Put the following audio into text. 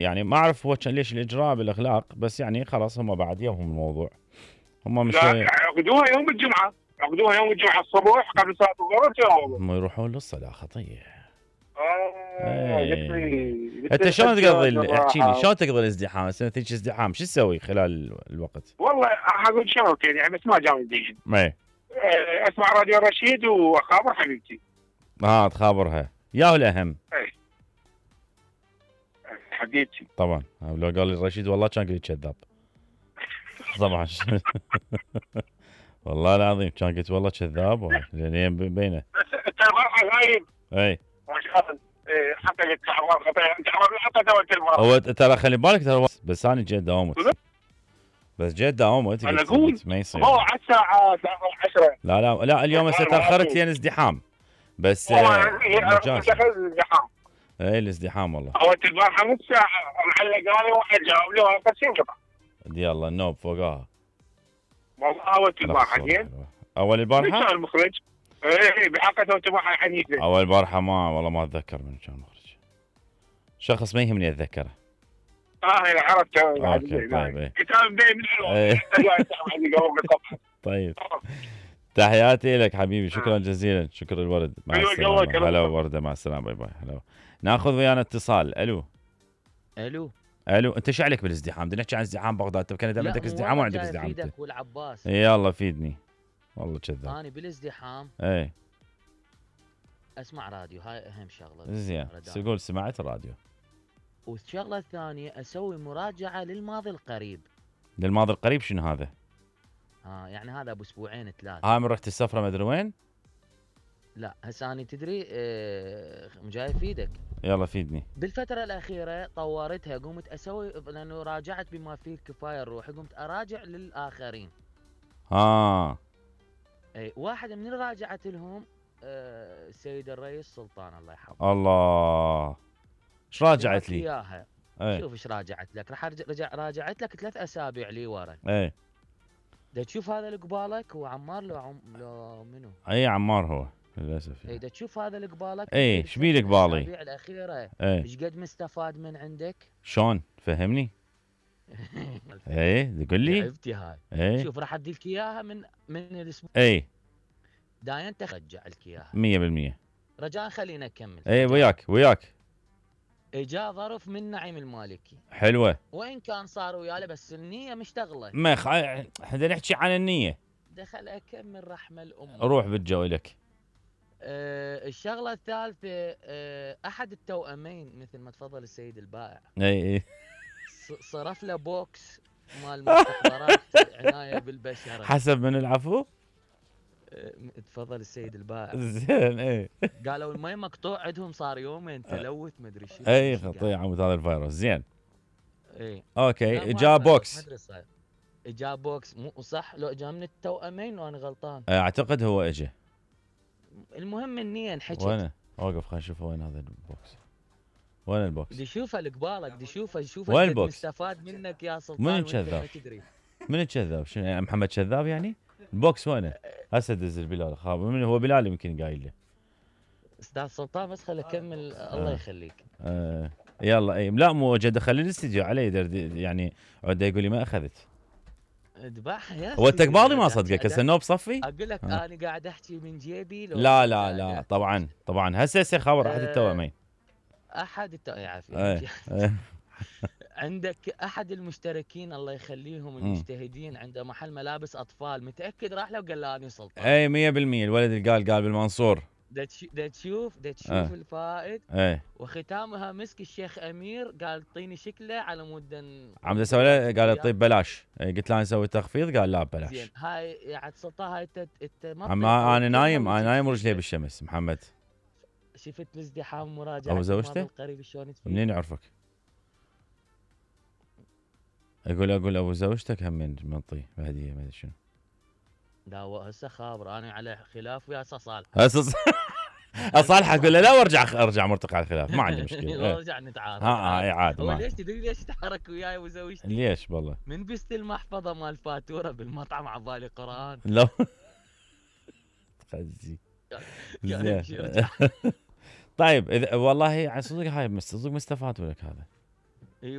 يعني ما اعرف هو كان ليش الاجراء بالاغلاق، بس يعني خلاص هم بعد يومهم الموضوع. هم مش لا عقدوها يوم الجمعه، عقدوها يوم الجمعه الصبح قبل صلاه الظهر. هم يروحون للصلاه خطيه. قلت لي انت شلون تقضي احكي لي شلون تقضي الازدحام؟ هسه تجي ازدحام شو تسوي خلال الوقت؟ والله اقول شغلتين يعني بس ما جامدين. اي اسمع راديو رشيد واخابر حبيبتي. تخابرها يا الاهم. اي حبيبتي طبعا لو قال لي رشيد والله كان قلت كذاب. طبعا والله العظيم كان قلت والله كذاب لان بينه. انت البارحه غايب. اي ما شاء الله. حتى قلت تعبان خطير، انت حتى توت البارحه. هو ترى خلي بالك ترى بس انا جيت داومت. بس جيت داومت انا اقول ما يصير. على الساعه 10. لا اليوم هسه تاخرت لين ازدحام. بس الازدحام. اي الازدحام والله. هو البارحه نص ساعه معلقاني واحد جاوب لي وانا بس ينقطع. دي الله النوب فوقها. والله اول البارحه زين. اول البارحه؟ كان المخرج. اي بحقته البارحه حديثه. اول البارحه والله ما اتذكر من كان مخرج. شخص ما يهمني اتذكره. انا عرفته. اوكي طيب. كتاب من طيب تحياتي لك حبيبي، شكرا جزيلا، شكر الورد، مع السلامه. هلا ورده، مع السلامه، باي باي. هلا. ناخذ ويانا اتصال. الو انت شو عليك بالازدحام؟ بدنا نحكي عن ازدحام بغداد. انت كان عندك ازدحام وعندك ازدحام انت؟ والعباس يلا فيدني والله كذاب. انا بالازدحام اسمع راديو، هاي اهم شغله. زين تقول سمعت الراديو. والشغله الثانيه اسوي مراجعه للماضي القريب. للماضي القريب شنو هذا؟ يعني هذا ابو اسبوعين 3. من رحت السفره مدري وين؟ لا هسه انا تدري جاي افيدك. يلا فيدني. بالفتره الاخيره طورتها، قمت اسوي لانه راجعت بما فيه الكفايه الروح، قمت اراجع للاخرين. اي واحده من اللي راجعت لهم السيد الرئيس سلطان الله يحفظه. الله ايش راجعت لي؟ اياها. شوف ايش راجعت لك. راح راجعت لك 3 اسابيع لي ورا. دا تشوف هذا اللي قبالك هو عمار لو منو؟ اي عمار هو للاسف. دا تشوف هذا اللي قبالك. ايش بيه قبالي؟ الاسابيع الاخيره ايش قد مستفاد من عندك؟ شلون؟ فهمني. تقول لي؟ عرفتي هاي. شوف راح ادي لك اياها من الاسبوع. داين ترجع لك اياها 100%. رجاء خلينا نكمل. وياك. اجا ظرف من نعيم المالكي. حلوه. وين كان صار وياله بس النيه مشتغله. ما احنا نحكي عن النيه. دخل اكمل رحمه الام. روح بالجو لك. الشغله الثالثه احد التوأمين مثل ما تفضل السيد البائع. صرف له بوكس مال مستحضرات عنايه بالبشره. حسب من العفو؟ تفضل السيد البائع. زين. قالوا المي مقطوع عندهم صار يومين تلوث مدري شو. خطير عمود هذا الفيروس. زين. اوكي جاء بوكس. جاء بوكس مو صح لو جاء من التوأمين وانا غلطان. اعتقد هو اجى. المهم النية انحكت. وين؟ اوقف خلينا نشوف وين هذا البوكس. وين البوكس؟ بدي اشوفه اللي قبالك، بدي اشوفه وين البوكس؟ مستفاد منك يا سلطان. من كذاب؟ من كذاب؟ شنو يعني محمد كذاب يعني؟ البوكس وينه؟ هسه دز بلال خاب. من هو بلال يمكن قايل له. استاذ سلطان بس خليني اكمل. الله يخليك. يلا لا مو وجد خلي الاستديو علي يعني عده يقول لي ما اخذت. اذبحها يا هو التقباضي ما صدقك هسه النوب صفي؟ اقول لك انا قاعد احكي من جيبي. لا طبعا هسه خبر احد التوأمين. يعافيك. عندك احد المشتركين الله يخليهم المجتهدين عنده محل ملابس اطفال، متاكد راح له وقال له انا سلطان. 100% الولد اللي قال بالمنصور. دا تشوف الفائد. وختامها مسك الشيخ امير قال اعطيني شكله على مود عم اسوي له. قال طيب بلاش. قلت له نسوي تخفيض قال لا ببلاش. زين هاي يا سلطان هاي ما انا نايم ورجلي بالشمس. محمد شفت الازدحام مراجعه ابو زوجته قريب شلون منين يعرفك؟ اقول ابو زوجتك هم من منطي بهديه ما ادري شنو. لا هسه خابر انا على خلاف ويا صالح. اصالح اقول له لا وارجع مرتقع على الخلاف ما عندي مشكله. لا ارجع نتعارك. عاد هو ليش تدري ليش تحرك وياي وزوجتي؟ ليش والله؟ من بست المحفظه مال فاتوره بالمطعم عبالي قران. لا تخزي. طيب والله صدق هاي صدق مستفاد لك هذا.